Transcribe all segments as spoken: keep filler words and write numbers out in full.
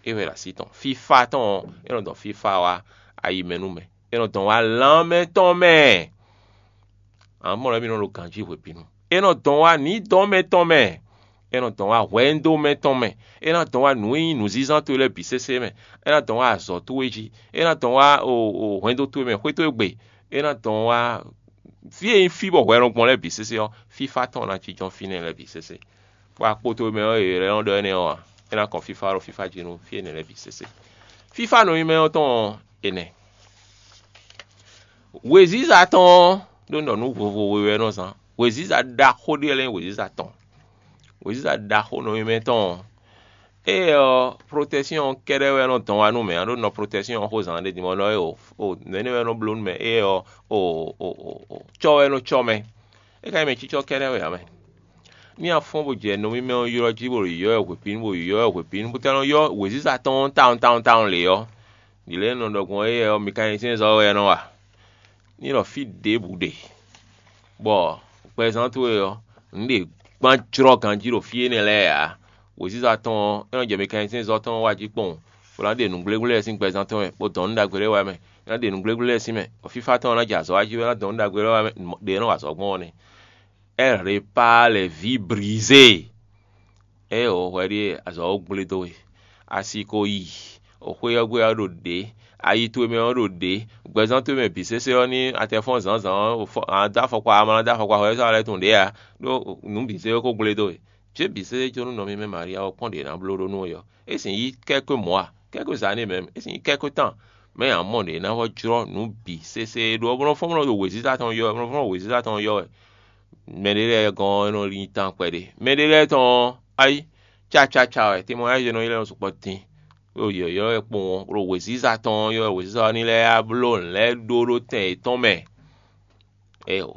É wɛ ɖo así tɔn. Fífá tɔn ɔ́, é nɔ dɔn fífá wá ayi mɛ nú mɛ. É nɔ dɔn wá lanmɛ tɔn mɛ. Amɔ̌ lɛ́ɛ mì nɔ ɖo ganjí hwebǐnu. É nɔ dɔn wá nǐdɔ́mɛ tɔn mɛ. É nɔ dɔn wá hwɛndo mɛ tɔn mɛ. É ná dɔn wá nǔ e nyí nǔzínzán towe lɛ́ɛ bǐ sésé mɛ. É ná dɔn wá azɔ̌ towe jí. É ná dɔn wá o o hwɛndo towe mɛ, xwé towe gbe. É ná dɔn wá fí e nyí fí bɔ hwɛ nɔ gbɔn lɛ́ɛ bǐ sésé ɔ́, fífá tɔn ná jínjɔ́n fínɛ́ lɛ́ɛ bǐ sésé. Bɔ akpo towe mɛ ɔ́, è lɛ́ nɔ ɖɔ énɛ́ ɔ́ ǎ. É ná kɔn fífá ɖo fífá jí nú fí énɛ́ lɛ́ɛ bǐ sésé. Fífá nɔ nyí mɛ ɔ́ tɔn ɔ́, è nɛ́. Wěziza tɔn ɔ́, ɖó un ɖɔ nǔ vovo we wɛ é nɔ zán. Wěziza ɖaxó ɖé lɛ́ɛ nyí wěziza tɔn. Wěziza ɖaxó nɔ nyi mɛ tɔn ɔ́, éyɛ́ ɔ́, protɛ́syɔn kɛ́ɖɛ́ wɛ nɔ dɔn wá nú mɛ ǎ, ɖó nɔ protɛ́syɔn ɔ́ xó zǎn ɖé din mɔ nɔ é o, o nɛ̌ wɛ nɔ bló nú mɛ, éyɛ́ ɔ́, o o o o cɔ́ wɛ nɔ cɔ́ mɛ. É ka nyí mɛ cícɔ́ kɛ́ɖɛ́ wɛ ǎ mɛ. Ní a fɔ́n bó jɛ nɔ mímɛ́ ɔ́ ylɔ́ jí bó ɖo yɔ̌yɔ́ hwepǐnu, bó ɖo yɔ̌yɔ́ hwepǐnu, bó ka nɔ ylɔ́ wěziza tɔn ɔ́ tawun tawun tawun lě ɔ́, ɖǐ lɛ́ɛ nɔ ɖɔ gbɔn éyɛ́ ɔ́, mi ka nyí sɛ́nzɔ́ wɛ é nɔ wa. Ní ɖɔ fí ɖěbǔ ɖe, bɔ gbɛzán towe ɔ́, nǔ ɖě gbán jlɔ́ ganjí ɖo fí énɛ́ lɛ́ɛ ǎ. Wěziza tɔn ɔ́, é nɔ jɛ mɛkɛnsiɛnzɔ́ tɔn wá jí kpɔ́n, bó ná ɖe nǔgblégbléɖɛ́ sín gbɛzán tɔn mɛ, bó dɔn nǔ ɖagbe lɛ́ɛ wá mɛ, é ná ɖe nǔgblégbléɖɛ́ sín mɛ, bɔ fífá tɔn ɔ́ ná jɛ azɔ̌ wá jí wɛ ná dɔn nǔ ɖagbe lɛ́ɛ wá mɛ, ɖě é nɔ wa azɔ̌ gbɔn ɔ́ nɛ́. Ɛ répare lɛ vǐ brizé. Ée wǒ hwɛ ɖíe azɔ̌ ɔ́ gblé dó we. Asi ko yi, wǒ xwé ɔ́ gbe ɔ́ ɖo ɖě, ayi towe mɛ ɔ́ ɖo ɖě, gbɛzán towe mɛ bǐ sésé ɔ́ ní a tɛ fɔ́n zǎnzǎn ɔ́, a dó afɔkpa, a ma ná dó afɔkpa hwɛ sɔ́ a lɛ́ tunwun ɖě ǎ, ɖó nǔ bǐ zé ko gblé dó we. Jě bǐ sésé có nú nɔ mímɛ́ Maria ɔ́ kpɔ́n ɖě ná bló ɖó nú we ɔ́, é sǐ nyí kɛ́kɔ́ mɔ̌ a? Kɛ́kɔ́ zǎn n'i mɛ, é sǐ nyí kɛ́kɔ́ tán. Mɛ ǎ mɔ ɖě ná vɔ́ jlɔ́ nǔ bǐ sésé e ɖó ɔ́, bó nɔ́ fɔ́n bó nɔ́ ɖo wěziza tɔn yɔ wɛ, bó nɔ́ fɔ́n ɖo wěziza tɔn yɔ wɛ. Mɛɖé lɛ́ɛ gɔ́n ɔ́, é nɔ nyí tán kpɛɖé. Mɛɖé lɛ́ɛ tɔn ɔ́, ayi, cácácá wɛ, témoignage nɔ nyí lɛ́ɛ nɔ sukpɔ́ dín. Ɖo yɔ̌yɔ́ wɛ kpowun ɔ́, ɖo wěziza tɔn ɔ́ yɔ wɛ, wěziza ɔ́ ní lɛ́ yá bló nǔ lɛ́ɛ ɖó ɖó tɛn yětɔn mɛ. Éeǒ,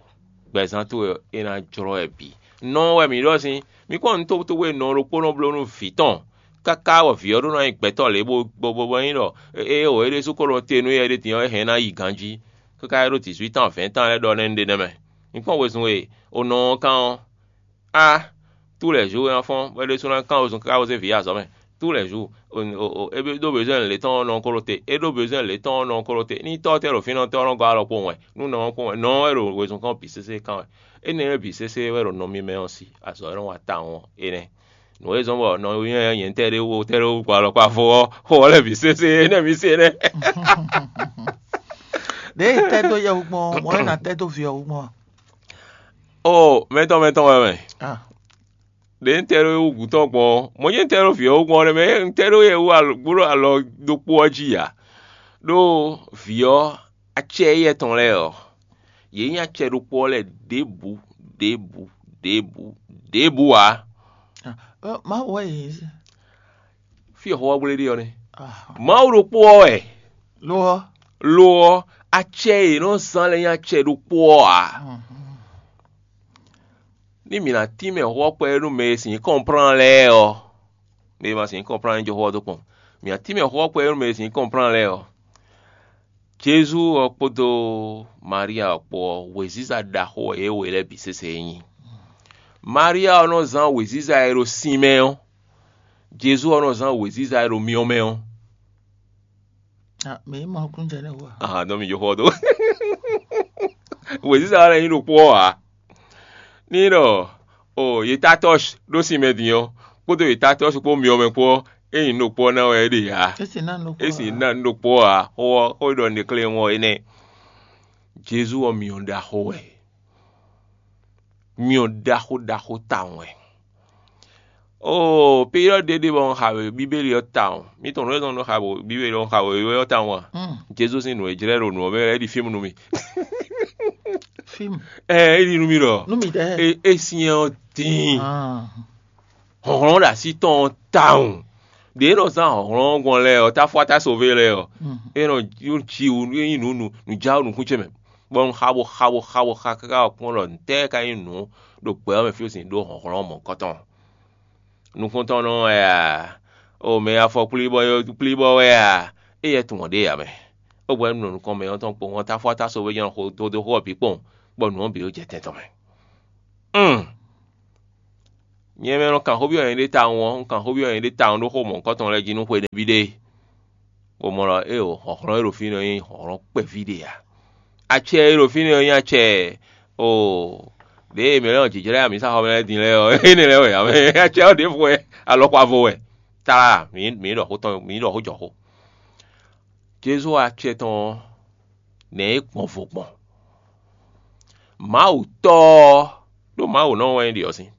gbɛzán towe ɔ́, é ná jlɔ́ wɛ bǐ. Nɔ wɛ mǐ ɖɔ sín, mǐ kpɔ́n nǔ tobutóbú e nɔ ɖokpónɔ bló nú vǐ tɔn, káká bɔ vǐ ɔ́ ɖó ná nyí gbɛtɔ́ lě bó bó bó bó nyí ɖɔ éeǒ, é ɖésú ko nɔ te nú éyɛ́ ɖé din ɔ́, é hɛn ná yi ganjí, káká é ɖó dǐzwítán vɛ̌ntán lɛ́ɛ ɖɔ nɛ́ un ɖe nɛ́ mɛ. Mǐ kpɔ́n wezun e è nɔ ɔ́ kán ɔ́, á, tous les jours é ná fɔ́n, bɔ é ɖésú ná kán wezun káká bó zé vǐ yi azɔ̌ mɛ. Tous les jours, o o o, é ɖó besoin lě tɔn ɔ́ nɔ ko ɖo te, é ɖó besoin lě tɔn ɔ́ nɔ ko ɖo te. Ní tɔ́ ɔ́ tɛ́ ɖo fínɛ́ ɔ́, tɔ́ ɔ́ nɔ gɔ́ alɔ kpowun wɛ, nú nɔ ɔ́ kpowun wɛ, nɔ ɔ́ wɛ ɖo wezun kɔn bǐ sésé kán wɛ. Énɛ́ lɛ́ɛ bǐ sésé wɛ ɖo nɔ mímɛ́ ɔ́ sí, azɔ̌ e nɔ wa tawun ɔ́ é nɛ́. Nǔ e zɔ́n bɔ nɔ nyɔ́ nyɛ̌tɛ́ ɖé wú tɛ́ ɖó gbɔ alɔkpa vo ɔ́, xó ɔ́ lɛ́ɛ bǐ sésé énɛ́ mi se nɛ́. Ɖěe un tɛ́ dó yɛhú gbɔn ɔ́, mɔ̌ wɛ nǎ tɛ́ dó vǐ ɔ́ wú gbɔn a? Oo, mɛtɔn mɛtɔn wɛ mɛ. Ah. Ɖě un tɛ́ ɖó wú gǔtɔ́ gbɔn ɔ́, mɔ̌ jɛ́n un tɛ́ ɖó vǐ ɔ́ wú gbɔn ɔ́ nɛ́ mɛ, un tɛ́ ɖó yɛ wú alɔ- bó ɖo alɔ ɖokpó ɔ́ jí ǎ. Ɖó vǐ ɔ́, acɛ éyɛ́ tɔn lɛ́ɛ ɔ́, yě nyí acɛ ɖokpó ɔ́ lɛ́ɛ ɖěbǔ, ɖěbǔ, ɖěbǔ, ɖěbǔ ǎ. Ɔ, Mawu wɛ yě. Fí e xó ɔ́ gblé ɖe ɔ́ nɛ́. Ah. Mawu ɖokpó ɔ́ wɛ. Lo ɔ́. Lo ɔ́, acɛ e è nɔ zán lɛ́ɛ nyí acɛ ɖokpó ɔ́ ǎ. Mhm. Ní mǐ ná tínmɛ xó ɔ́ kpɛɖé nú mɛ e sǐ nyí kɔnplán lɛ́ɛ ɔ́, mɛ e ma sǐ nyí kɔnplán ní jó xó ɔ́ dó kpɔn. Mǐ ná tínmɛ xó ɔ́ kpɛɖé nú mɛ e sǐ nyí kɔnplán lɛ́ɛ ɔ́, Jezu ɔ́ kpódó Maria ɔ́ kpó ɔ́, wěziza ɖaxó wɛ yě we lɛ́ɛ bǐ sésé nyí. Maria ɔ́ nɔ zán wěziza e ɖo sin mɛ ɔ́, Jezu ɔ́ nɔ zán wěziza e ɖo myɔ mɛ ɔ́. Ah, mǐ mɔ nukúnnú jɛ nɛ́ wú a? Ah, nɔ mi jó xɔ dó. Wěziza ɔ́ lɛ́ nyí ɖokpó ɔ́ ǎ. Ní ɖɔ o yě tá tɔ́si ɖó sin mɛ din ɔ́, kpódó yě tá tɔ́si kpó myɔ mɛ kpó ɔ́, é nyí ɖokpó ɔ́ ná wɛ é ɖe ǎ. É sì ná nǔ ɖokpó É sì ná nǔ ɖokpó ɔ́ ǎ. Xó ɔ́, xó e ɖɔ un ɖe klé ɔ́ é nɛ́. Jezu ɔ́ myɔ ɖaxó wɛ. Myɔ ɖaxó ɖaxó tawun wɛ. Oo, peyilɔ ɖe ɖe bɔ un xa Bíbélì ɔ́ tawun. Mi tunwun nǔ e zɔ́n un nɔ xa Bíbélì ɔ́, un xa wěwé ɔ́ tawun a? Hmm. Jezu sín nǔ e jlɛ́ ɖo nǔ ɔ́ mɛ wɛ é ɖi fímu nú mì. Fímu. Ɛ é ɖi nú mì ɖɔ. Nú mì ɖɛɛ. É é syɛ́n ɔ́ dín. Ah. Hlɔ̌nhlɔ́n ɖo así tɔn ɔ́ tawun. Ɖě e nɔ zán hlɔ̌nhlɔ́n ɔ́ gbɔn lɛ́ɛ ɔ́, táfúátásoví lɛ́ɛ ɔ́, Mhm. é nɔ jí wǔ é nyí nǔ nǔ nǔjáwǔ nukún ce mɛ, bɔ un xa bo xa bo xa bo xa káká wɔ kpɔ́n ɖɔ ntɛ́ ka nyí nǔ ɖo gbɛ ɔ́ mɛ fí e sin ɖó hlɔ̌nhlɔ́n mɔ̌hunkɔtɔn. Nukúntɔ́nnɔ wɛ a? O mɛ afɔkplíbɔ kplíbɔ wɛ a? Éyɛ́ tunwun ɖě ǎ mɛ. É hwɛ̌ un nɔ nukɔn mɛ ɔ́ tɔn kpowun ɔ́, táfúátásoví jɛ́n xo dó dó xó ɔ́ bǐ kpowun, bɔ nǔ ɔ́ bǐ ɖo jɛ tɛn tɔn mɛ. Un! Nyɛ mɛ nɔ kan xó byɔ́ nyɛɖée tawun ɔ́, un kan xó byɔ́ nyɛɖée tawun ɖó xó mɔ̌hunkɔtɔn lɛ́ɛ jí nú xwe nɛbí ɖé, bó mɔ ɖɔ éeǒ, hlɔ̌nhlɔ́n e ɖo fínɛ́ ɔ́ nyí hlɔ̌nhlɔ́n kpɛví ɖé ǎ. Acɛ e ɖo fínɛ́ ɔ́ nyí acɛ oo, ɖěe mɛ lɛ́ɛ nɔ jǐjlɛ́ amǐsaxɔmɛ lɛ́ɛ din lɛ́ɛ ɔ́, énɛ́ lɛ́ɛ wɛ ǎ mɛ. Acɛ ɔ́ ɖěvo wɛ, alɔkpa vo wɛ. Tlala, mǐ mǐ ɖɔ xó tɔn, mǐ ɖɔ xó jɔ xó. Jezu acɛ tɔn ɔ́, nɛ̌ é gbɔn vo gbɔn? Mawu Tɔ́ ɔ́, ɖó Mawu nɔ wɛ é ɖe ɔ́ sín.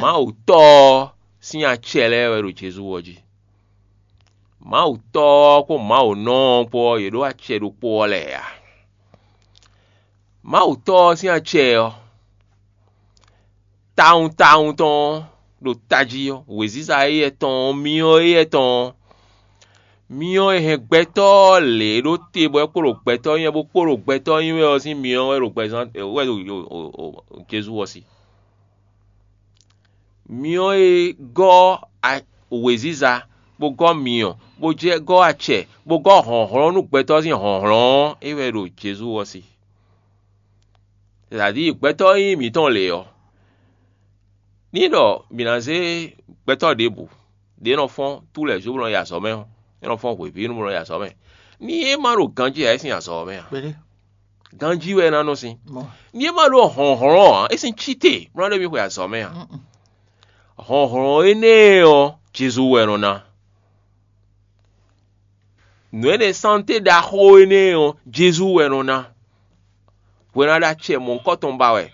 Mawu Tɔ́ ɔ́ sín acɛ lɛ́ɛ wɛ ɖo Jezu ɔ́ jí. Mawu Tɔ́ ɔ́ kpó Mawu nɔ ɔ́ kpó ɔ́, yě ɖó acɛ ɖokpó ɔ́ lɛ́ɛ ǎ. Mawu Tɔ́ ɔ́ sín acɛ ɔ́, tawun tawun tɔn ɔ́ ɖo tají ɔ́, wěziza éyɛ́ tɔn ɔ́, myɔ éyɛ́ tɔn ɔ́, myɔ e hɛn gbɛtɔ́ ɔ́ lě ɖó te bɔ é kpo ɖo gbɛtɔ́ nyí wɛ bó kpo ɖo gbɛtɔ́ nyí wɛ ɔ́ sín myɔ wɛ ɖo gbɛzán wɛ ɖo Jezu ɔ́ sí. Myɔ e gɔ́ wěziza, bó gɔ́ myɔ, bó jɛ gɔ́ acɛ, bó gɔ́ hlɔ̌nhlɔ́n nú gbɛtɔ́ sín hlɔ̌nhlɔ́n ɔ́, é wɛ ɖo Jezu ɔ́ sí. Sɛ́dadíi gbɛtɔ́ e nyí mǐtɔn lě ɔ́, ní ɖɔ mǐ ná zé gbɛtɔ́ ɖěbǔ, ɖě nɔ fɔ́n tú lɛ̌ jó bó nɔ yi azɔ̌ mɛ ɔ́, é nɔ fɔ́n hwebǐnu bó nɔ yi azɔ̌ mɛ. Ní é ma ɖo ganjí ǎ, é sín azɔ̌ ɔ́ mɛ ǎ. Ganjí wɛ é ná nɔ sín. Ní é ma ɖó hlɔ̌nhlɔ́n ǎ, é sín cí te bó ná ɖo mì xwe azɔ̌ mɛ ǎ. Hlɔ̌nhlɔ́n énɛ́ ɔ́, Jezu wɛ nɔ ná. Nǔ énɛ́ sánté ɖaxó énɛ́ ɔ́, Jezu wɛ nɔ ná. Hwe ná ɖó acɛ mɔ̌hunkɔtɔn ba wɛ,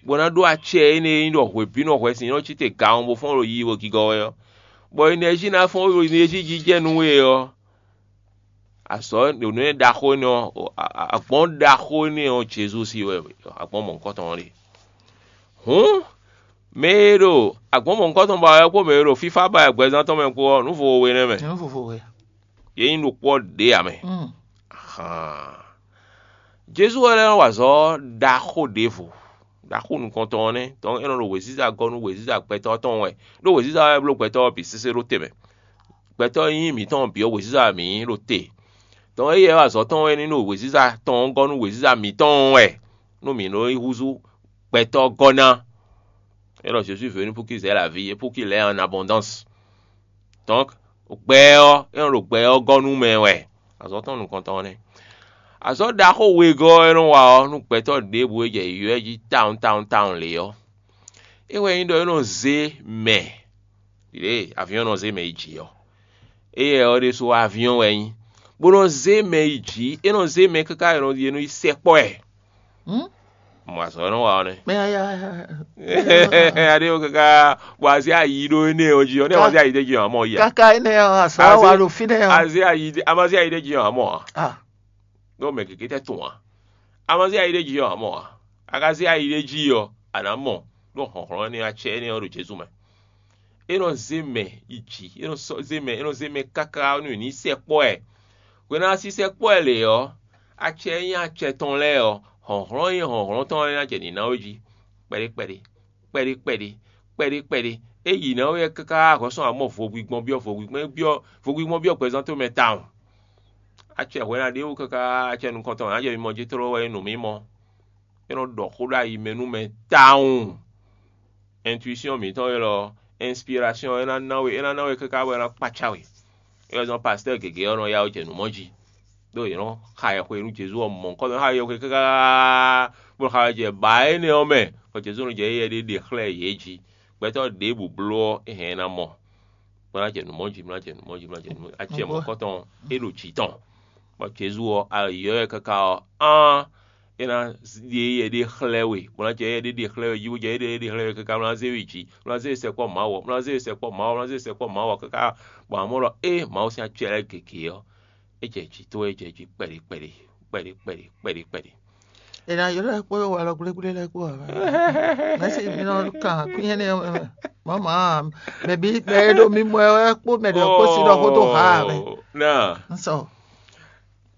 bó ná ɖó acɛ énɛ́ e nyí ɖɔ hwebǐnu hwɛsin nɔ cí te gawun bó fɔ́n ɖo yiyi bó gigɔ wɛ ɔ́, bɔ enɛ́jí ná fɔ́n ɖo enɛ́jí jijɛ nú we ɔ́, azɔ̌ nǔ e ɖaxó énɛ́ ɔ́, agbɔ̌n ɖaxó énɛ́ ɔ́ Jezu sí wɛ agbɔ̌n mɔ̌hunkɔtɔn ɔ́ ɖe. Hǔn mɛ e ɖo agbɔ̌n mɔ̌hunkɔtɔn ba wɛ kpó mɛ e ɖo fífá ba wɛ gbɛzán tɔn mɛ kpó ɔ́, nǔ vovo we nɛ́ mɛ. Nǔ vovo we. Yě nyí ɖokpó ɔ́ ɖě ǎ mɛ. Ahan. Jezu wɛ lɛ́ nɔ wa azɔ̌ ɖaxó ɖěvo, ɖaxó nukɔntɔn ɔ́ nɛ́, tɔn é nɔ ɖo wěziza gɔ́ nú wěziza gbɛtɔ́ tɔn wɛ, ɖó wěziza wɛ bló gbɛtɔ́ ɔ́ bǐ sésé ɖó te mɛ. Gbɛtɔ́ e nyí mǐtɔn bǐ ɔ́, wěziza wɛ mǐ nyí ɖo te. Tɔn éyɛ́ wɛ azɔ̌ tɔn wɛ ní ɖo wěziza tɔn ɔ́ gɔ́ nú wěziza mǐtɔn wɛ, nú mǐ nɔ yi húzú gbɛtɔ́ gɔ́ ná. É ɖɔ Jésus venu pour qu'ils aient la vie et pour qu'ils l'aient en abondance. Donc, gbɛ ɔ́, é nɔ ɖo gbɛ ɔ́ gɔ́ nú mɛ wɛ. Azɔ̌ tɔn nukɔntɔn ɔ́ nɛ́. Azɔ̌ ɖaxó wegɔ́ ɔ́ é nɔ wa ɔ́, nú gbɛtɔ́ ɖěbǔ e jɛ yǔyɔ́ jí tawun tawun tawun lě ɔ́, é wɛ nyí ɖɔ é nɔ zé mɛ ɖě avyɔ́n nɔ zé mɛ yi jǐ ɔ́. Éyɛ́ ɔ́ ɖésú avyɔ́n wɛ é nyí, bó nɔ zé mɛ yi jǐ; é nɔ zé mɛ káká è nɔ yi sɛkpɔ́ ɛ. Mɔ azɔ̌ e nɔ wa ɔ́ nɛ́. Mɛ aya Aɖé káká bɔ azé ayi ɖó énɛ́ ɔ́ jí ɔ́, nɛ́ azé ayi ɖé jí ɔ́, amɔ ya. Káká énɛ́ ɔ́, azɔ̌ wa ɖo fínɛ́ ɔ́. Azé ayi ɖé, amɔ azé ayi ɖé jí ɔ́, amɔ a. Ah, Ɖó mɛ gěgé tɛ́ tunwun ǎ. A ma zé ayi ɖé jí ɔ́, a mɔ ǎ. A ka zé ayi ɖé jí ɔ́, a nǎ mɔ, ɖó hlɔ̌nhlɔ́n énɛ́ ɔ́, acɛ énɛ́ ɔ́ ɖo Jezu mɛ. É nɔ zé mɛ yi jǐ, é nɔ sɔ́ zé mɛ, é nɔ zé mɛ káká nú è nǐ sɛkpɔ́ ɛ. Hwenu e a si sɛkpɔ́ ɛ lě ɔ́, acɛ e nyí acɛ tɔn lɛ́ɛ ɔ́, hlɔ̌nhlɔ́n e nyí hlɔ̌nhlɔ́n tɔn lɛ́ɛ ná jɛ nǐ ná we jí kpɛɖé kpɛɖé, kpɛɖé kpɛɖé, kpɛɖé kpɛɖé. É yi ná we káká hɔn sɔ́ amɔ vo gbigbɔn byɔ́ vo gbigbɔn byɔ́ vo gbigbɔn byɔ́ gbɛzán towe mɛ tawun. Acɛ hwɛ ná ɖe wú káká acɛ nukɔntɔn ná jɛ mimɔ jí tló wɛ é nǔ mímɔ. É nɔ ɖɔ xó ɖo ayi mɛ nú mɛ tawun. Intuition mǐtɔn élɔ́, inspiration é ná ná we, é ná ná we káká bɔ é ná kpácá we. É wɛ zɔ́n pastɔ́ gěgé ɔ́ nɔ yá wɛ jɛ nǔ mɔ jí. Ɖó yě nɔ xa yɛhwe nú Jezu ɔ́ mɔ̌ kɔ nɔ xa yɛhwe káká bó nɔ xa wɛ jɛ bǎ énɛ́ ɔ́ mɛ, bɔ Jezu nɔ jɛ éyɛ́ ɖé ɖe xlɛ́ yě jí. Gbɛtɔ́ ɖěbǔ bló ɔ́, é hɛn ɛ ná mɔ. Bó ná jɛ nǔ mɔ jí, bó ná jɛ nǔ mɔ jí, bó ná jɛ nǔ mɔ jí. Acɛ mɔ̌kɔtɔn ɔ́, é ɖo jǐ tɔn. Bɔ Jezu ɔ́, ayǐ ɔ́ wɛ káká ɔ́, án é ná ɖe éyɛ́ ɖé xlɛ́ we, bó ná jɛ éyɛ́ ɖé ɖe xlɛ́ we jí, bó jɛ éyɛ́ ɖé xlɛ́ we káká bó ná zé we jǐ, bó ná zé we sɛkpɔ́ Mawu ɔ́, bó ná zé we sɛkpɔ́ Mawu ɔ́, bó ná zé we sɛkpɔ́ Mawu ɔ́ káká, bɔ amɔ̌ ɖɔ ée Mawu sín acɛ lɛ́ɛ gěgé ɔ́, é jɛ jǐ tó wɛ, é jɛ jí kpɛɖé kpɛɖé kpɛɖé kpɛɖé kpɛɖé kpɛɖé. È nǎ ylɔ́ ɛ kpó walɔ gblégblé lɛ́ɛ kpó ǎ. Mɛ̌si mi nɔ kan kwínyɛ́nɛ́ ɔ́ mɛ. Mɔ̌ mɔ̌, mɛ bí mɛ e ɖo mi mɔ ɛ wɛ kpó mɛ ɖě kpó sí ɖɔ xó dó ha ǎ mɛ. Náà, Un sɔ.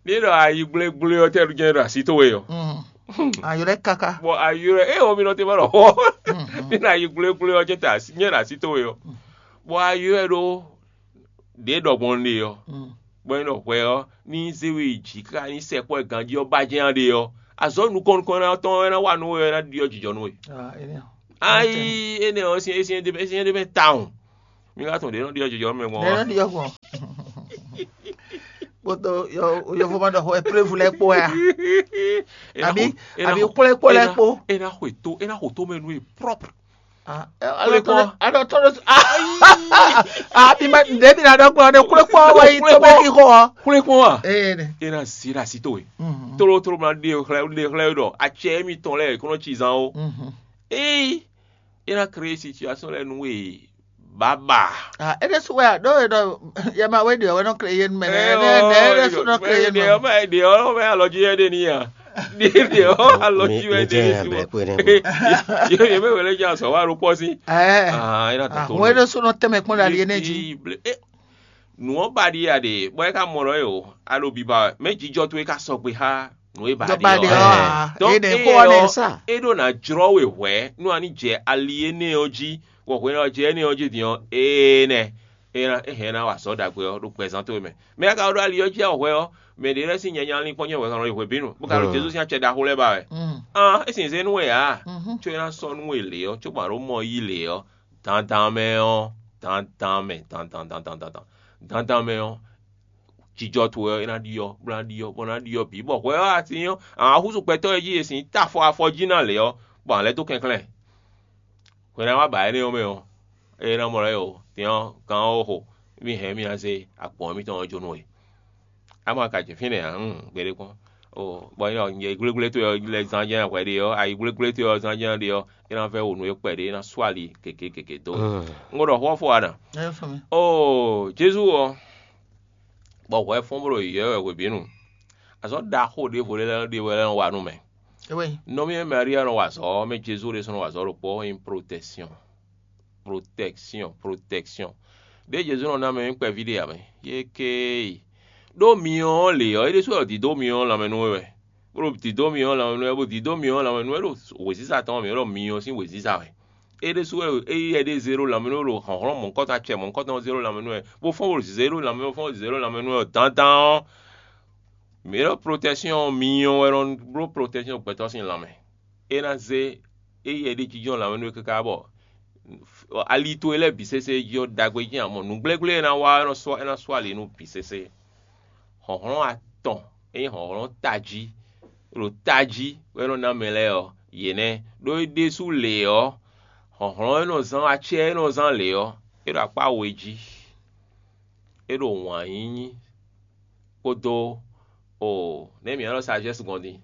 Ní ɖɔ ayi gblégblé ɔ́ tɛ́ jɛ́n ɖo así towe ɔ́. Mm. Ayɔ lɛ kaka. Bɔ ayi ɔ́, ée ɔ́ mi nɔ te ma ɖɔ xó. Ní ɖɔ ayi gblégblé ɔ́ jɛ́n ta así nyɛ ɖo así towe ɔ́. Bɔ ayi ɔ́ ɖó ɖě ɖɔ gbɔn ɖe ɔ́. Mm. Bɔ é nɔ hwɛ ɔ́, ní zé we yi jǐ káká ní sɛkpɔ́ e ganjí ɔ́ ba jɛ́n ɖe ɔ́, azɔ̌ nukɔn nukɔn ná tɔn ɔ́ ná wa nú we ɔ́, é ná ɖyɔ́ jijɔ nú we. Ah, énɛ́ ɔ́. Ayi, énɛ́ ɔ́ sín é sín é ɖé mɛ tawun. Mi ka tunwun ɖě nɔ ɖiɖɔ jijɔ mɛ gbɔn Nɛ́ wá. Nɔ ɖiɖɔ gbɔn. Kpódó yɔvo ma ɖɔ xó ɛplévu lɛ́ɛ kpó wɛ a? Àbí àbí xwlɛ́kpó lɛ́ɛ kpó. É ná xwe tó é ná xo tó mɛ nú e prɔ́pr. Xwlɛ́kpó. Aɖɔ tɔn ɖo. Àbí ma ɖě mi ná ɖɔ gbɔn ɖe xwlɛ́kpó wɛ yí tó mɛ kí xó ɔ. Xwlɛ́kpó wa. Ee ne. É ná zí ɖo así towe. Tlótló ma ɖe xlɛ́ ɖe xlɛ́ ɖɔ acɛ émítɔn lɛ́ɛ kó nɔ ci zán ó. Éyi é ná krée situasɔn lɛ́ɛ nú we baba. Ah, é ɖésú wɛ a ɖó e ɖɔ yɛma wé ɖi ɔ́ wɛ nɔ krée yé nu mɛ nɛ Ɛ, nɛ nɛ é ɖésú nɔ krée yé nu ɖe ɔ́ mɛ. Mɛ ɖe ɔ́ mɛ alɔ jí wɛ ɖe ní a. Ɖe ɖe ɔ́ alɔ jí wɛ ɖe ní sí mɔ. Yé yé mɛ wɛlɛ jí azɔ wa ɖo kpɔ sí. Ɛ Ah, é ná tɔtɔ. Wɛ ɖésú nɔ tɛmɛ kpɔn ɖe ali yé nɛ jí. Nǔ ɔ́ ba ɖi a ɖe bɔ é ka mɔ ɖɔ é o a ɖo biba wɛ mɛ jijɔ towe ka sɔgbe xá nǔ e ba Dɔ ɖe ba ɖe ɔ́ ɔ́. A Donc é ɖe é kó ɔ́ nɛ. Ɔ́ Sa. É ɖo ná jlɔ́ we hwɛ̌ nú a ní jɛ ali énɛ́ ɔ́ jí, bɔ hwenu e a jɛ énɛ́ ɔ́ jí din ɔ́, ee nɛ é ná é hɛn ná wa azɔ̌ ɖagbe ɔ́ ɖo gbɛzán towe mɛ. Mɛ e ka ɖo ali ɔ́ jí a hwɛ ɔ́, mɛ ɖě lɛ́ɛ sín nyanya lín kpɔ́n nyɛ wɛ kan nɔ yi hwebǐnu, bó ka ɖo Jezu sín acɛ ɖaxó lɛ́ɛ ba wɛ. An é sin zé nú we ǎ, có é ná sɔ́ nú we lě ɔ́, cóbɔ a ɖǒ mɔ yí lě ɔ́, dandan mɛ ɔ́, dandan mɛ dandan dandan dandan dandan mɛ ɔ́, jijɔ towe ɔ́, é ná ɖyɔ́, bó ná ɖyɔ́, bó ná ɖyɔ́ bǐ, bɔ hwɛ ɔ́, atín ɔ́, a nǎ húzú gbɛtɔ́ e jí è sǐ ta afɔ afɔ jí ná lě ɔ́, bɔ a lɛ́ dó kɛnklɛ́n. Hwɛ ná wá ba énɛ́ ɔ́ mɛ ɔ́, é ná mɔ lɛ́ o, tɛn ɔ́, gán ɔ́ xo, mì hɛn mì ná zé agbɔ̌n mǐtɔn ɔ́ jó nú we. Á ma ka jɛ fínɛ́ ǎ, hǔn, gbeɖé kpɔ́n. O, bɔ nyɛ nyɛ gblégblé towe ɔ́ lɛ́ zán jɛ́n hwɛ ɖe ɔ́, ayi gblégblé towe ɔ́ zán jɛ́n ɖe ɔ́, é ná vɛ́ wo nú we kpɛɖé, é ná sú ali keke keke dó we. Un ko ɖɔ xó ɔ́ fó wa ná. Ɛ fún mi. Oo, Jezu ɔ́, bɔ hwɛ fɔ́n bó ɖo yǐyɔ́ wɛ hwebǐnu. Azɔ̌ ɖaxó ɖěvo lɛ́ɛ ɖe wɛ lɛ́ nɔ wa nú mɛ. Ewé. Nɔví e Maria nɔ wa azɔ̌ ɔ́ mɛ Jezu ɖésú nɔ wa azɔ̌ ɖokpó ɔ́ nyí protection. Protection, protection. Ɖěe Jezu nɔ ná mɛ nyí kpɛví ɖé ǎ mɛ. Yé kéé. Ɖó myɔ ɔ́ lě ɔ́, é ɖésú wɛ dǐdó myɔ ɔ́ lanmɛ nú we wɛ. Bó ɖo dǐdó myɔ ɔ́ lanmɛ nú wɛ, bó dǐdó myɔ ɔ́ lanmɛ nú wɛ ɖo wěziza tɔn ɔ́ mɛ, é ɖɔ myɔ sín wěziza wɛ. É ɖésú wɛ é yɛ ɖé zé ɖó lanmɛ nú we ɖo hlɔ̌nhlɔ́n mɔ̌hunkɔtɔn acɛ mɔ̌hunkɔtɔn zé ɖó lanmɛ nú wɛ, bó fɔ́n bó zé ɖó lanmɛ, bó fɔ́n bó zé ɖó lanmɛ nú wɛ dandan ɔ́, mǐ ɖɔ protection ɔ́, myɔ wɛ nɔ bló protection gbɛtɔ́ sín lanmɛ. É ná zé é yɛ ɖé jínjɔ́n lanmɛ nú we káká bɔ ali towe lɛ́ɛ bǐ sésé jí ɔ́, ɖagbe jí amɔ nǔgblégblé e ná wa ɔ́, é nɔ sɔ́ é ná sú ali nú bǐ sésé. Hlɔ̌nhlɔ́n atɔn e nyí hlɔ̌nhlɔ́n tají ɖo tají wɛ é nɔ ná mɛ lɛ́ɛ ɔ́, yě nɛ́. Ɖó é ɖésú lě ɔ́, hlɔ̌nhlɔ́n e nɔ zán acɛ e nɔ zán lě ɔ́, é ɖo akpá we jí. É ɖo wǎn yíyí kpódó o nɛ̌ mǐ nɔ́ ɖɔ sagesse gbɔn din?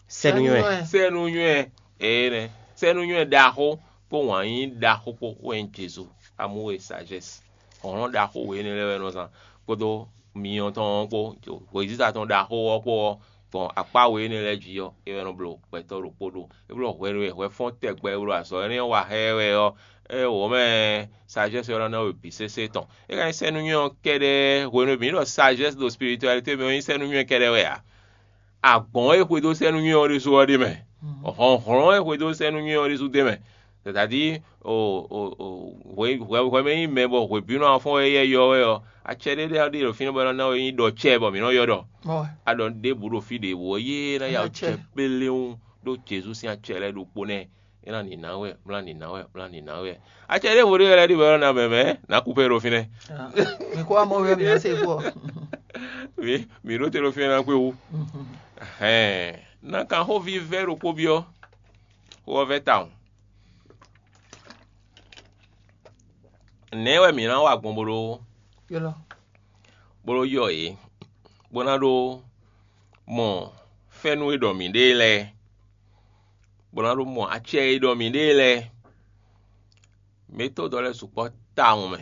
Sɛ́núnywɛ́. Sɛ́núnywɛ́. Ee nɛ. Sɛ́núnywɛ́ ɖaxó kpó wǎn yíyí ɖaxó kpó wɛ nyí Jezu. Amú we sagesse. Hlɔ̌nhlɔ́n ɖaxó we énɛ́ lɛ́ɛ wɛ nɔ zán kpódó myɔ tɔn ɔ́ kpó, wěziza tɔn ɖaxó ɔ́ kpó ɔ́, gbɔn akpá we énɛ́ lɛ́ɛ jí ɔ́, é wɛ nɔ bló gbɛtɔ́ ɖokpó ɖó. É bló hwenu e hwɛ fɔ́n tɛgbɛ e bló azɔ̌ énɛ́ ɔ́ wa xá ɛ wɛ ɔ́, é wǒ mɛ sagesse ɔ́ ná ná we bǐ sésé tɔn. É ka nyí sɛ́núnywɛ́ ɔ́ kɛ́ɖɛ́ hwenu e mǐ ɖɔ sagesse ɖo spiritualité mɛ ɔ́ nyí sɛ́núnywɛ́ kɛ́ɖɛ́ wɛ ǎ. Agbɔ̌n e xwedó sɛ́núnywɛ́ ɔ́ ɖésú ɔ́ ɖ'é mɛ. Hlɔ̌nhlɔ́n e xwedó sɛ́núnywɛ́ ɔ́ ɖésú d'é mɛ. C'est-à-dire o o o hwe hwe hwɛ mɛ nyí mɛ bɔ hwebǐnu afɔ́n e yɛ yɔ wɛ ɔ́, acɛ ɖé ɖé ɖe ɖo fínɛ́ bɔ é nɔ ná we nyí ɖɔ cɛ bɔ mǐ nɔ ylɔ́ ɖɔ. Aɖɔ ɖěbǔ ɖo fí ɖěbǔ ɔ́, yé ná ya Acɛ. Cɛ kpéléwún ɖó Jezu sín acɛ lɛ́ɛ ɖokpó nɛ́. É ná nǐ ná wɛ, mlá nǐ ná wɛ, mlá nǐ ná wɛ. Acɛ ɖěvo ɖé lɛ́ɛ ɖi wɛ ɔ́ ná mɛ mɛ, nǎ kú pé ɖo fínɛ́. Mi kó wá mɔ wɛ mi ná se kú ɔ. Mi mi ɖó te ɖo fínɛ́ ná kú ewu. Hɛn, ná kan xó vívɛ́ ɖokpó byɔ́. Xó ɔ́ vɛ́ tawun. Nɛ̌ wɛ mǐ ná wa gbɔn bó ɖó Yɔlɔ. Bó ɖó yɔ yě, bó ná ɖó mɔ fɛ́nú e ɖɔ mǐ ɖe lɛ́ɛ, bó ná ɖó mɔ acɛ e ɖɔ mǐ ɖe lɛ́ɛ. Mǐ to dɔ lɛ́ɛ sukpɔ́ tawun mɛ.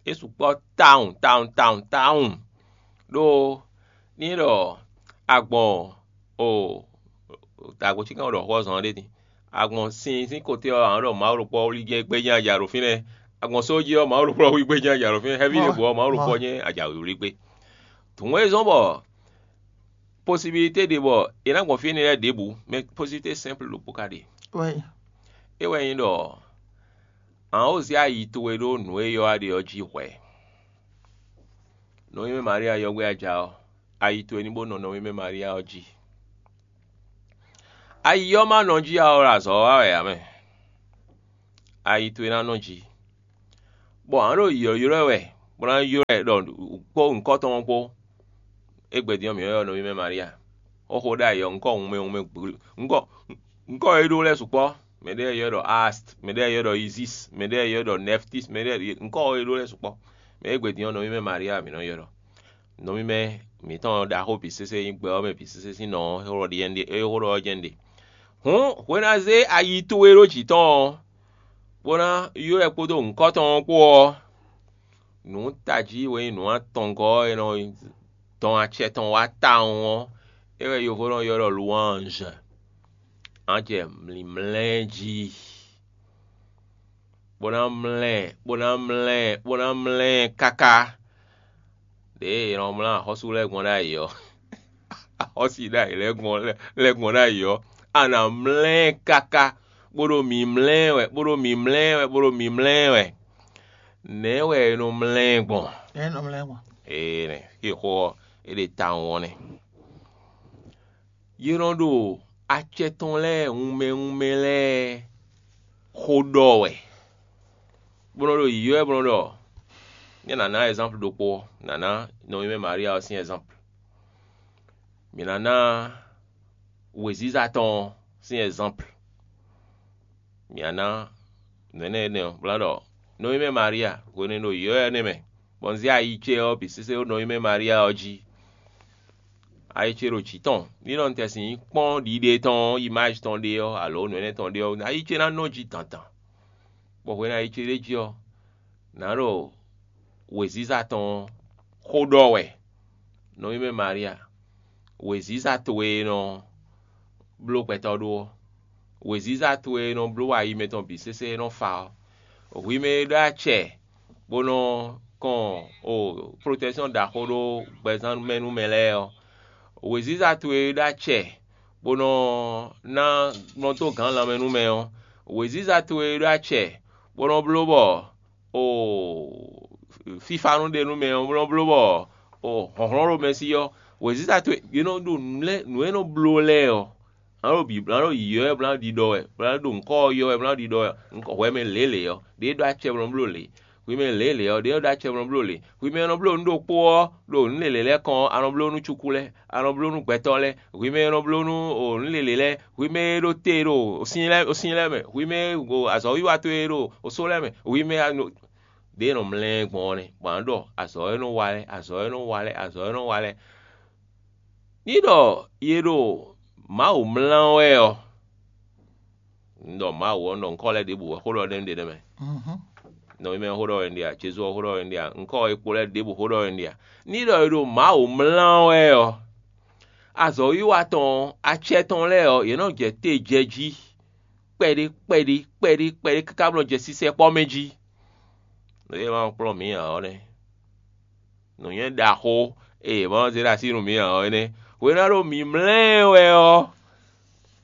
É sukpɔ́ tawun tawun tawun tawun. Ɖó ní ɖɔ agbɔn o agbɔn cíkan ɖɔ xó ɔ́ zɔn ɖé din. Agbɔn sin sín kote ɔ́, àwọn ɖɔ Mawu ɖokpó wlí jɛ gbé jɛ́n aja ɖo fínɛ́. Agbɔn só jí ɔ́, Mawu ɖokpó wlí gbé jɛ́n aja ɖo fínɛ́. Xɛví ɖěbǔ ɔ́, Mawu ɖokpó nyɛ́ aja wlí gbé. Dǔn e zɔ́n bɔ posibilité ɖe bɔ è nǎ gbɔn fí énɛ́ lɛ́ɛ ɖěbǔ, mɛ posibilité simple ɖokpó ka ɖe. É wɛ nyí ɖɔ àwọn ó zé ayi towe ɖó nǔ e ylɔ́ a ɖe ɔ́ jí hwɛ̌. Nɔví mɛ Maria yɔgbé aja ɔ́, ayi towe ní bó nɔ nɔví mɛ Maria ɔ́ jí. Ayi ɔ́ ma nɔ jí a ɔ́ ɖo azɔ̌ wa wɛ ǎ mɛ. ayi towe ná nɔ jí. Bɔ a nǎ ɖo ylɔ̌ylɔ́ ɛ wɛ, bó ná ylɔ́ ɛ ɖɔ kpó nyǐkɔ tɔn ɔ́ kpó. Égbé din ɔ́, mǐ nɔ́ ylɔ́ nɔví mɛ Malia. Xóxó ɖ'ayǐ ɔ́, nyǐkɔ wunmɛ wunmɛ nyǐkɔ e ɖó lɛ́ɛ sukpɔ́. Mɛɖé ylɔ́ ɖɔ Ast, mɛɖé ylɔ́ ɖɔ Isis, mɛɖé ylɔ́ ɖɔ Nɛftis, mɛɖé nyǐkɔ e ɖó lɛ́ɛ sukpɔ́. Mɛ égbé din ɔ́, nɔví mɛ Malia mǐ nɔ́ ylɔ́ ɖɔ. Nɔví mɛ mǐtɔn ɖaxó bǐ sésé nyí gbɛ ɔ́ mɛ bǐ sésé sín nɔ ɔ́, é xó ɖɔ jɛ́n ɖe. Hǔn hwe ná zé ayi towe ɖó jǐ tɔn ɔ́, bó ná ylɔ́ ɛ kpódó nyǐkɔ tɔn ɔ́ kpó ɔ́, nǔ tají e nyí nǔ atɔngɔ́ ɔ́ e nɔ dɔn acɛ tɔn wá tawun ɔ́, é wɛ yovo nɔ ylɔ́ ɖɔ louange. A jɛ mlǐmlɛ́ jí, bó ná mlɛ́, bó ná mlɛ́, bó ná mlɛ́ káká. Ɖěe è nɔ mlá axɔ́sú lɛ́ɛ gbɔn ɖ'ayǐ ɔ́, axɔ́sú ɖ'ayǐ lɛ́ɛ gbɔn lɛ́ɛ gbɔn ɖ'ayǐ ɔ́, a nǎ mlɛ́ ɛ káká, bó ɖo mǐmlɛ́ wɛ, bó ɖo mǐmlɛ́ wɛ, bó ɖo mǐmlɛ́ wɛ. Nɛ̌ wɛ è nɔ mlɛ́ ɛ gbɔn? Ɛ nɔ mlɛ́ ɛ gbɔn. Ee nɛ, xixo ɔ́, é ɖe tawun ɔ́ nɛ́. Yě nɔ ɖo acɛ tɔn lɛ́ɛ wunmɛ wunmɛ lɛ́ɛ xó ɖɔ wɛ, bó nɔ ɖo yǐyɔ́ wɛ bó nɔ ɖɔ, nyɛ nǎ ná ɛzánplu ɖokpó, nǎ ná nɔví mɛ Malia ɔ́ sín ɛzánplu. Mǐ ná ná wěziza tɔn ɔ́ sín ɛzánplu. Mǐ ná ná nǔ énɛ́ énɛ́ ɔ́, bó ná ɖɔ nɔví mɛ Malia, hwenu e un ɖo yǐyɔ́ énɛ́ mɛ, bɔ un zé ayi ce ɔ́ bǐ sésé ɖó nɔví mɛ Malia ɔ́ jí. Ayi ce ɖo jǐ tɔn, ní ɖɔ un tɛ́sin kpɔ́n ɖiɖe tɔn ɔ́, imáji tɔn ɖé ɔ́, alo nǔ énɛ́ tɔn ɖé ɔ́, ayi ce ná nɔ jí dandan. Bɔ hwenu e ayi ce ɖ'é jí ɔ́, nǎ ɖo wěziza tɔn ɔ́ xó ɖɔ wɛ, nɔví mɛ Malia, wěziza towe e nɔ bló gbɛtɔ́ ɖó ɔ́, wěziza towe e nɔ bló ayi mɛtɔn bǐ sésé e nɔ fa ɔ́, hwi mɛ e ɖó acɛ bó nɔ kɔn o protɛksyɔn ɖaxó ɖó gbɛzán mɛ nú mɛ lɛ́ɛ ɔ́, wěziza towe e ɖó acɛ bó nɔ ná nɔ dó gǎn lanmɛ nú mɛ ɔ́, wěziza towe e ɖó acɛ bó nɔ bló bɔ o fífá nú ɖe nú mɛ ɔ́ nɔ bló bɔ o hlɔ̌nhlɔ́n ɖo mɛ sí ɔ́, wěziza towe è nɔ ɖo nǔ lɛ́ɛ nǔ e nɔ bló lɛ́ɛ ɔ́, a nǎ ɖo bǐ a nǎ ɖo yǐyɔ́ wɛ bó ná ɖiɖɔ wɛ, bó ná ɖo ŋkɔ́ ɔ́ yɔ wɛ bó ná ɖiɖɔ wɛ, ŋkɔ hwɛ mɛ lělě ɔ́, ɖě ɖó acɛ bó nɔ bló lě. Hwi mɛ lělě ɔ́, ɖě nɔ ɖó acɛ bó nɔ bló lě. Hwi mɛ e nɔ bló nǔ ɖokpó ɔ́, ɖo nǔ lělě lɛ́ɛ kɔn ɔ́, a nɔ bló nú cukú lɛ́ɛ, a nɔ bló nú gbɛtɔ́ lɛ́ɛ. Hwi mɛ e nɔ bló nú o nǔ lělě lɛ́ɛ, hwi mɛ e ɖo te ɖo sin lɛ́ɛ sin lɛ́ɛ mɛ, hwi mɛ e ɖo azɔ̌wiwa towe ɖo osó lɛ́ɛ mɛ, hwi mɛ e nɔ ɖě nɔ mlɛ́ gbɔn ɔ́ nɛ́, bɔ a nǎ ɖɔ azɔ̌ e nɔ wa lɛ́ɛ, azɔ̌ e nɔ wa lɛ́ɛ, azɔ̌ e nɔ wa lɛ́ɛ. Ní ɖɔ yě ɖo Mawu mlá wɛ ɔ́, un ɖɔ Mawu ɔ́, un ɖɔ ŋkɔ́ lɛ́ɛ ɖěbǔ wɛ xó ɖɔ ɖ'é ɖe nɛ́ mɛ. Nɔví mɛ xó ɖɔ wɛ un ɖe a? Jezu ɔ́ xó ɖɔ wɛ un ɖe a? Ŋkɔ́ e kpo lɛ́ɛ ɖěbǔ xó ɖɔ wɛ un ɖe a? Ní ɖɔ è ɖo Mawu mlá wɛ ɔ́, azɔ̌wiwa tɔn ɔ́, acɛ tɔn lɛ́ɛ ɔ́, yě nɔ jɛ te jɛ jí kpɛɖé kpɛɖé kpɛɖé kpɛɖé káká bó nɔ jɛ sísɛ́kpɔ́ mɛ jí. Nǔ e ma kplɔ́n mǐ ǎ ɔ́ nɛ́. Nǔnywɛ́ ɖaxó e yě ma zé ɖo así nú mǐ ǎ ɔ́ énɛ́. Hwenu e a ɖo mǐmlɛ́ ɛ wɛ ɔ́,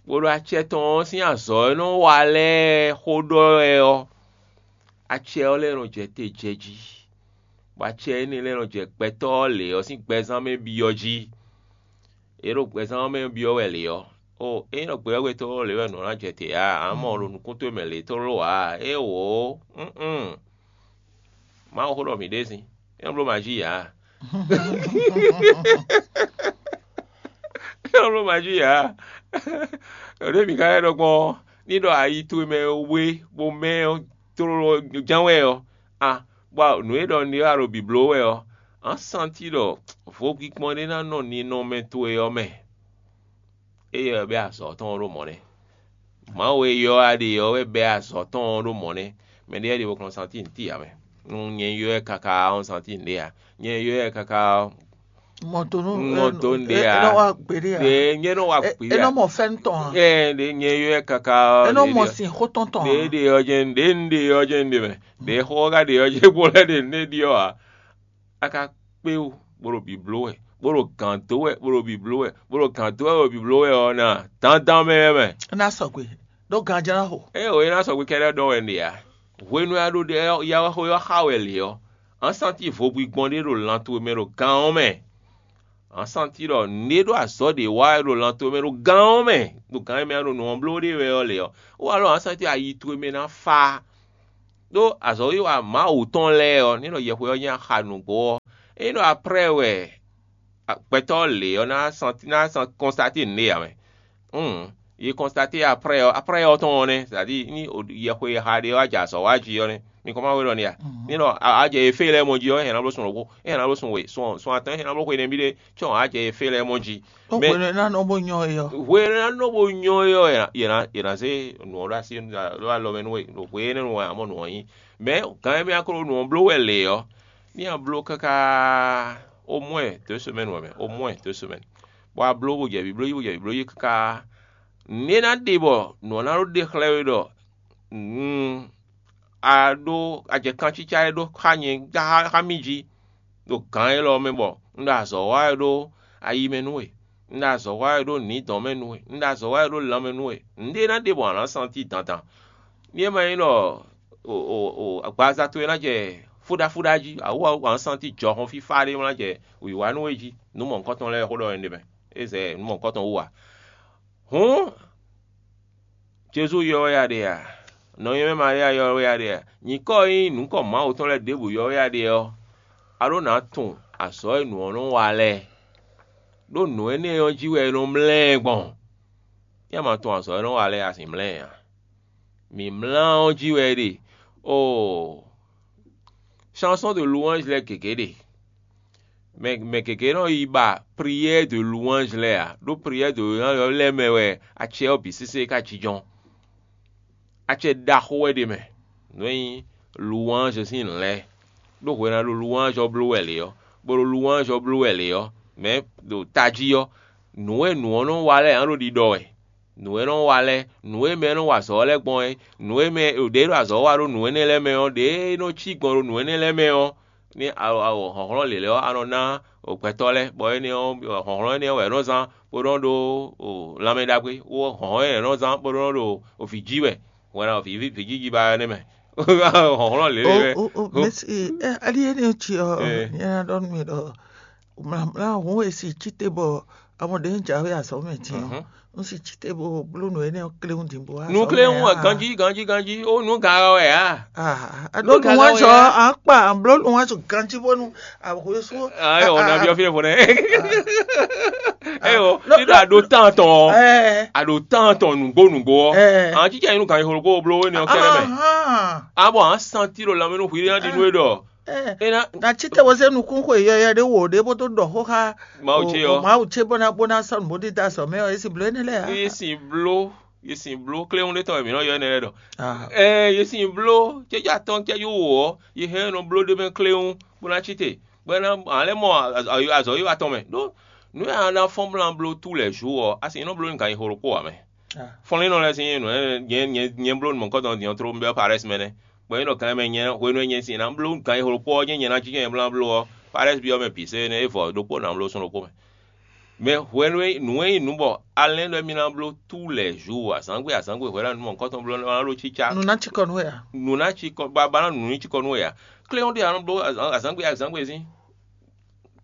bó ɖo acɛ tɔn ɔ́ sín azɔ̌ e nɔ wa lɛ́ɛ xó ɖɔ wɛ ɔ́, acɛ ɔ́ lɛ́ nɔ jɛ te jɛ jí, bɔ acɛ énɛ́ lɛ́ nɔ jɛ gbɛtɔ́ ɔ́ lě ɔ́ sín gbɛzán mɛ byɔ́ jí. È ɖo gbɛzán ɔ́ mɛ byɔ́ wɛ lě ɔ́, o é nɔ gbeyɔ́gbetɔ́ lě wɛ nǔ ná jɛ te ǎ, ǎ mɔ ɖo nukún towe mɛ lě tlóló ǎ, éeǒ, ún Mawu xó ɖɔ mǐ ɖe sin, é nɔ bló mají ǎ. É nɔ bló mají ǎ. Ɖě mǐ ka lɛ́ ɖɔ gbɔn ɔ́, ní ɖɔ ayi towe mɛ we bó mɛ ɔ́ tlóló ján wɛ ɔ́, a bɔ nǔ e ɖɔ un ɖe wɛ a ɖo bǐbló wɛ ɔ́, a nǎ santi ɖɔ vodínkpɔ́n ɖé ná nɔ ninɔmɛ towe ɔ́ mɛ. Éyɛ́ wɛ bɛ́ azɔ̌ tɔn ɔ́ ɖo mɔ̌ nɛ́. Mawu e ylɔ́ a ɖe ɔ́ wɛ bɛ́ azɔ̌ tɔn ɔ́ ɖo mɔ̌ nɛ́. Mɛɖé lɛ́ɛ ɖe bo kplɔ́n santín t'i ǎ mɛ. Nú nyɛ ylɔ́ ɛ káká ɔ́, santín ɖě ǎ. Nyɛ ylɔ́ ɛ káká ɔ́, mɔ to nú mɔ to un ɖe ǎ. Ɖe nyɛ nɔ wa gběɖe ǎ. Ɖe nyɛ nɔ wa gběɖe ǎ. E nɔ mɔ fɛn tɔn ǎ. Ɛ ɖe nyɛ ylɔ́ ɛ káká ɔ́. E nɔ mɔ sin xó tɔn tɔn ǎ. Ɖe ɖe ɔ́ jɛ ɖe un ɖe ɔ́ jɛ un ɖe mɛ. Ɖe xó ɔ́ ka ɖe ɔ́ jɛ bó lɛ́ ɖe nǔ ɖe ɖi ɔ́ ǎ. A ka kpé wú, bó ɖo bǐbló wɛ, bó ɖo gǎn dó wɛ, bó ɖo bǐbló wɛ, bó ɖo gǎn dó wɛ, bó ɖo bǐbló wɛ ɔ́ ná dandan mɛ wɛ mɛ. É ná sɔgbe, ɖó ganján ná xo. Ée o é ná sɔgbe kɛ́ɖɛ́ ɖɔ wɛ un ɖe ǎ. Hwenu e a ɖo ɖe ya wɛ xó ɔ́ xa wɛ lě ɔ́, a nǎ santín vodún gbɔn ɖé ɖo lan towe mɛ ɖo gan ɔ́ mɛ. A nǎ santín ɖɔ nǔɖé ɖó azɔ̌ ɖě wa wɛ ɖo lan towe mɛ ɖo gan ɔ́ mɛ, ɖo gan e mɛ a ɖo nǔ ɔ́ bló ɖe wɛ ɔ́ lě ɔ́, ó wá ɖɔ a nǎ santín ayi towe mɛ ná fá. Ɖó azɔ̌wiwa Mawu tɔn lɛ́ɛ ɔ́, ní ɖɔ yɛhwe ɔ́ nyí axa nǔgbó ɔ́, ényí ɖɔ aprɛ́ wɛ gbɛtɔ́ lě ɔ́ ná san ná san kɔnstatín nǔɖé ǎ mɛ. Hǔn, yi kɔnstatín aprɛ́ ɔ́, aprɛ́ ɔ́ tɔn ɔ́ nɛ́, sɛ́dí ní yɛhwe e xa ɖe ɔ́ wá jɛ azɔ̌ wa jí ɔ́ nɛ́. Mi kɔn ma wé ɖɔ n'i a? Ní ɖɔ a jɛ efée lɛ́ɛ mɔ jí ɔ́, é hɛn ná bló sun ɖokpó, é hɛn ná bló sun we, sun sun atɔn, é hɛn ná bló xwe nɛbí ɖé, cɔn a jɛ efée lɛ́ɛ mɔ jí. Mɛ hwenu e ná nɔ bó nyɔ é ɔ́. Hwenu e ná nɔ bó nyɔ é ɔ́, yě ná zé nǔ ɔ́ ɖó así ɖó alɔ mɛ nú we, ɖo hwenu énɛ́ nu wɛ ǎ mɔ nǔ ɔ́ nyí. Mɛ gǎn e mɛ a ko ɖo nǔ ɔ́ bló wɛ lě ɔ́, ní a bló káká au moins deux semaines wɛ mɛ, au moins deux semaines. Bɔ a bló bó jɛ vǐ bló jí, bó jɛ vǐ bló jí káká. Nǔ e ná ɖe bɔ nǔ ɔ́ ná ɖó ɖe xlɛ́ we ɖɔ a ɖó a jɛ kancícá e ɖó xá nyɛ xá mì jí ɖo gǎn élɔ́ mɛ bɔ un ɖo azɔ̌ wa wɛ ɖó ayi mɛ nú we, un ɖo azɔ̌ wa wɛ ɖó nǐdɔn mɛ nú we, un ɖo azɔ̌ wa wɛ ɖó lanmɛ nú we. Nǔɖé ná ɖe bɔ a nǎ santi dandan. Ní é ma nyí ɖɔ agbaza towe ná jɛ fúɖáfúɖá jí, awǔ a nǎ santi jɔhɔn fífá ɖé ná jɛ wǐwá nú we jí. Nǔ mɔ̌hunkɔtɔn lɛ́ɛ xó ɖɔ wɛ un ɖe mɛ, é zɛ nǔ mɔ̌hunkɔtɔn wú ǎ. Hǔn Jezu yɔ wɛ a ɖe a? Nɔ nyi mɛ Malia yɔ wɛ a ɖe a? Nyǐkɔ e nyí nǔkɔ Mawu tɔn lɛ́ɛ ɖěbǔ yɔ wɛ a ɖe ɔ́, a ɖó nǎ tunwun azɔ̌ e nǔ ɔ́ nɔ wa lɛ́ɛ, ɖó nǔ énɛ́ ɔ́ jí wɛ è nɔ mlɛ́ ɛ gbɔn. Yá ma tunwun azɔ̌ e nɔ wa lɛ́ɛ a sixú mlɛ́ ɛ ǎ. Mǐ mlá ɔ́ jí wɛ é ɖe. Oo, chanson de louange lɛ́ɛ gěgé ɖe. Mɛ mɛ gěgé nɔ yi ba prière de louange lɛ́ɛ ǎ, ɖó prière de louange lɛ́ɛ mɛ wɛ acɛ ɔ́ bǐ sésé ka jínjɔ́n. Acɛ ɖaxó wɛ ɖ'é mɛ, nǔ e nyí louange sín lɛ̌, ɖó hwena ɖo louange ɔ́ bló wɛ lě ɔ́, bó ɖo louange ɔ́ bló wɛ lě ɔ́, mɛ̌ ɖo tají ɔ́, nǔ e nǔ ɔ́ nɔ wa lɛ́ɛ ǎ ɖo ɖiɖɔ wɛ. Nǔ e nɔ wa lɛ́ɛ, nǔ e mɛ e nɔ wa azɔ̌ ɔ́ lɛ́ɛ gbɔn é, nǔ e mɛ ɖě ɖo azɔ̌ wa ɖó nǔ énɛ́ lɛ́ɛ mɛ ɔ́, ɖě e nɔ cí gbɔn ɖo nǔ énɛ́ lɛ́ɛ mɛ ɔ́, ní a a hlɔ̌nhlɔ́n lělɛ́ ɔ́, a nɔ ná gbɛtɔ́ lɛ́ɛ, bɔ énɛ́ ɔ́, hlɔ̌nhlɔ́n énɛ́ ɔ́ wɛ é nɔ zán bó nɔ́ ɖó lanmɛ ɖagbe, hlɔ̌nhlɔ́n énɛ́ ɔ́ nɔ zán bó nɔ́ ɖo vǐ jí wɛ, hwɛ̌n ná vǐ vǐ jí ba ɔ́ nɛ́ mɛ. Hlɔ̌nhlɔ́n lělɛ́ wɛ. O o o mɛsi, ɛ ali énɛ́ ɔ́ cí ɔ́, nyɛ ná ɖɔ nú mi ɖɔ mlǎmlá hǔn e si cí te bɔ amɔ ɖě un jǎwe azɔ̌ mɛ din ɔ́, un si cí te bó bló nǔ énɛ́ ɔ́ kléwún din bó wá. Nǔ kléwún wɛ ganjí ganjí ganjí, ó nǔ ga ɔ́ wɛ ǎ. Ɖó nǔwanzɔ́ ɔ́, à ń kpa à ń bló nǔwanzɔ́ ganjí bónú àhwesú. Ayɔ, ɔ́ nabí ɔ́ fínɛ́ fɔnɛ́. Eyɔ, ní ɖo àɖo tán tɔn ɔ́, àɖo tán tɔn nǔgbó nǔgbó ɔ́, à ń jíjɛ nyí nú ganxixo ɖokpó bló énɛ́ ɔ́ kɛ́ɖɛ́ mɛ. Abɔ à ń santí ɖo lanmɛ nú hwi ɖé ná ɖi nú é ɖɔ. Ena na tsi te wozé nukún xwe yɔyɔ ɖé wò ɖé bó tó ɖɔ xó xá Mawu ce ɔ́. Mawu ce bó ná bó ná sɔ́ nǔ bó dídá azɔ̌ mɛ ɔ́, é sì bló énɛ́ lɛ́ɛ ǎ. Yé sin bló, yé sin bló kléwún ɖé tɔn wɛ mǐ nɔ ylɔ́ énɛ́ lɛ́ɛ ɖɔ. Ɛ yé sin bló cɛ́jú atɔn cɛ́jú wǒ ɔ́, yě hɛn nɔ bló ɖé mɛ kléwún bó ná cí te, bó ná ǎ lɛ́ mɔ azɔ̌ yíwá tɔn mɛ. Ɖó nǔ e a ná fɔ́n bó ná bló tous les jours ɔ́, a sì nɔ bló nú ganxixo ɖokpó ǎ mɛ. Fɔnlínnɔ lɛ́ɛ sín nǔ nyɛ nyɛ nyɛ bló nǔ mɔ̌kɔ́tɔn din ɔ́ tló un byɔ́ Parɛ́si mɛ nɛ́. Bɔ é nɔ kan mɛ nyɛ hwenu e nyɛ sin ná bló gan e xo kpó ɔ́ jɛ́n nyɛ ná jínjɔ́n nyɛ bló ɔ́, Parɛ́si byɔ́ mɛ bǐ sɛ́ énɛ́ é vɔ ɖokpó ná bló sɔ́ ɖokpó mɛ. Mɛ hwenu e nǔ e nyí nǔ bɔ a lɛ́n ɖɔ émí ná bló tous les jours azǎngbe azǎngbe hwɛ̌ ná nú mɔ̌hunkɔtɔn bló ná ɖó cícá. Nǔ ná cikɔ nú we ǎ. Nǔ ná cikɔ ba ba ná nǔ ní cikɔ nú we ǎ. Kléwún ɖé a nɔ bló azǎngbe azǎngbe sín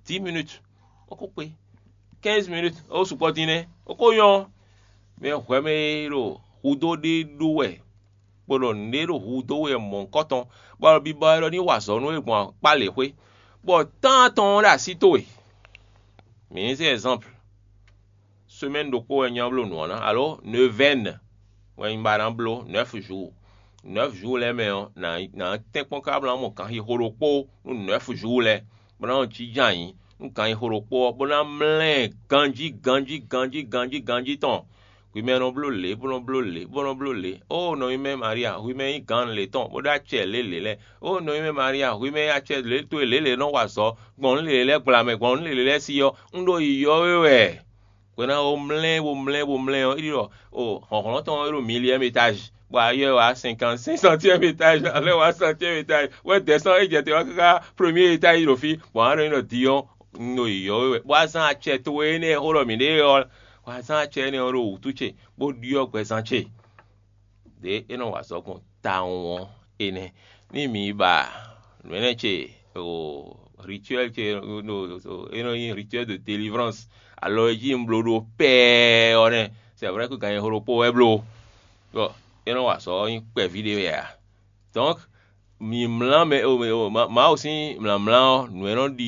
dix minutes, ó kó kpé. Quinze minutes, ó sukpɔ́ dín nɛ́, ó kó nyɔ́. Mɛ hwɛ̌ mɛ e ɖo hudó ɖé ɖó wɛ, bó ɖɔ nǔɖé ɖo hu dó we mɔ̌hunkɔtɔn, bɔ bibɔ wɛ ɖɔ ní wa azɔ̌ nú we gbɔn akpá lě xwé, bɔ tán atɔn ɔ́ ɖo así towe. Mǐ ní zé ɛzanpl, semɛ́ni ɖokpó wɛ nyí ɔ́ bló nǔ ɔ́ ná, alo neuvaine wɛ nyí ba ná bló, nɛ́f jours. Nɛ́f jours lɛ́ɛ mɛ ɔ́, nǎ nǎ tɛ́nkpɔ́n káká bó ná mɔ ganxixo ɖokpó nú nɛ́f jours lɛ́ɛ, bó ná nɔ jínjɔ́n ayǐ nú ganxixo ɖokpó ɔ́, bó ná mlɛ́ ɛ ganjí ganjí ganjí ganjí ganjí tɔn. Hwi mɛ nɔ bló lě, bó nɔ bló lě, bó nɔ bló lě. Ó nɔnyi mɛ Maria, hwi mɛ nyí gǎn lě tɔn, bó ɖó acɛ lě lě lɛ́ɛ. Ó nɔnyi mɛ Maria, hwi mɛ nyí acɛ lě towe lě lě nɔ wa azɔ̌ gbɔn nǔ lě lě lɛ́ɛ gbla mɛ, gbɔn nǔ lě lě lɛ́ɛ sí ɔ́, un ɖo yiyɔ we wɛ. Hwɛ̌ ná ó mlɛ́, bó mlɛ́, bó mlɛ́ ɔ́, é ɖi ɖɔ o hlɔ̌nhlɔ́n tɔn ɔ́ é ɖo miliyɛ́m etázi, bɔ a ylɔ́ ɛ wá cinquante cinq centième étage, alɔ wá centième étage, wɛ descend é jɛ te wá káká premier étage ɖo fí, bɔ a nɔ nyi ɖɔ Dion, un ɖo yiyɔ we wɛ, bó wá zán acɛ towe énɛ́ e xó ɖɔ mǐ ɖe ɔ́, wá zán acɛ énɛ́ ɔ́ ɖo wǔtu ce, bó ɖyɔ́ gbɛzán ce. Ɖě é nɔ wa azɔ̌ gbɔn tawun ɔ́ énɛ́. Ní mǐ ba nǔ énɛ́ ce o rituel ce e nɔ nyí rituel de délivrance, alɔ e jí un bló ɖó pɛɛ ɔ́ nɛ́, c'est vrai que ganxixo ɖokpó wɛ bló, bɔ é nɔ wa azɔ̌ ɔ́ nyí kpɛví ɖé wɛ ǎ. Donc mǐ mlá mɛ Mawu sín mlǎmlá ɔ́, nǔ e nɔ ɖi